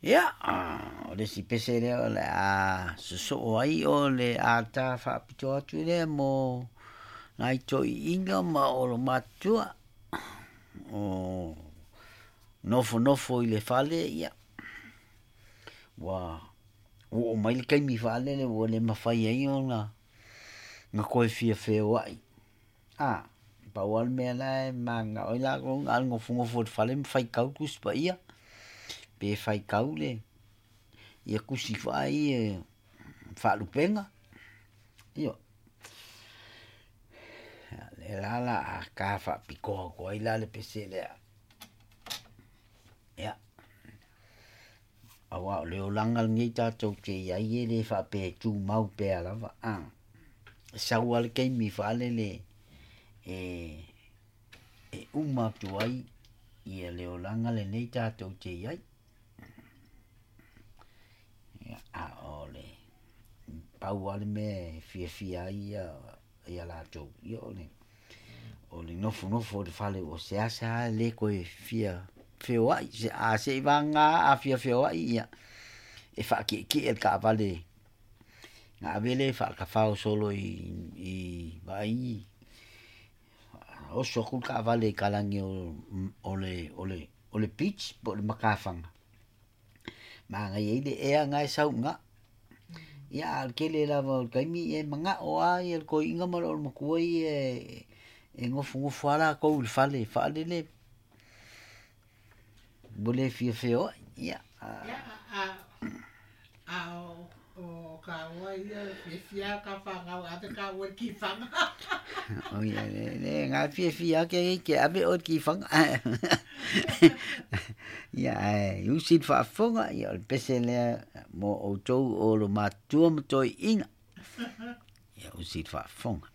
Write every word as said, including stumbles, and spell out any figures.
Ia, o le isi pese lea o le a sosoo ai o le ata faapitoa atu lea mo nai toeaiina ma olomatua o nofonofo i le fale, ia ua oo mai le taimi faalele ua le mafai ai ona na toe fia feoai. A, pau lava le mea la e mananao ai latou na o le nofonofo i le fale ma faitau Tusi Paia, pe faitau le ia tusi foi ia faalupega, ioe. Ia, lea la o le a ta faapitoa atu ai la le pese lea. Ia, aua o le olaga lenei tatou te i ai e le faapea e tumau pea lava, a, e sau lava le taimi faalele e e uma atu ai ia le olaga lenei tatou te i ai. Ia, a o le pau lava le mea e fiafia ai ia ia latou, ia o le o le nofonofo i le fale ua seasea le toe fia feoai, a seiavagana a fia feoai ia e faatietie i le taavale ona ave lea e faatafao solo i i vaai oso atu le taavale i talaane o le o le o le beach po o le matafaga, manaia ai le ea na e sau i ina. Ia a o le tele lava o le taimi e manao lava le toeaina ma le olomatua ia e nofonofo lava latou i le fale faalele ua le fia feoai. Ia, a, a o, o kāua ia fiafia ka whangau ave kāua i kiwhanga. O ia, le, le, ngā fiafia ke ke ave o ki whanga. Ia, ai, usi le faafofoga, ia o le pese lea mo outou o lo matua ma toeaiina. Ia usi le faafofoga.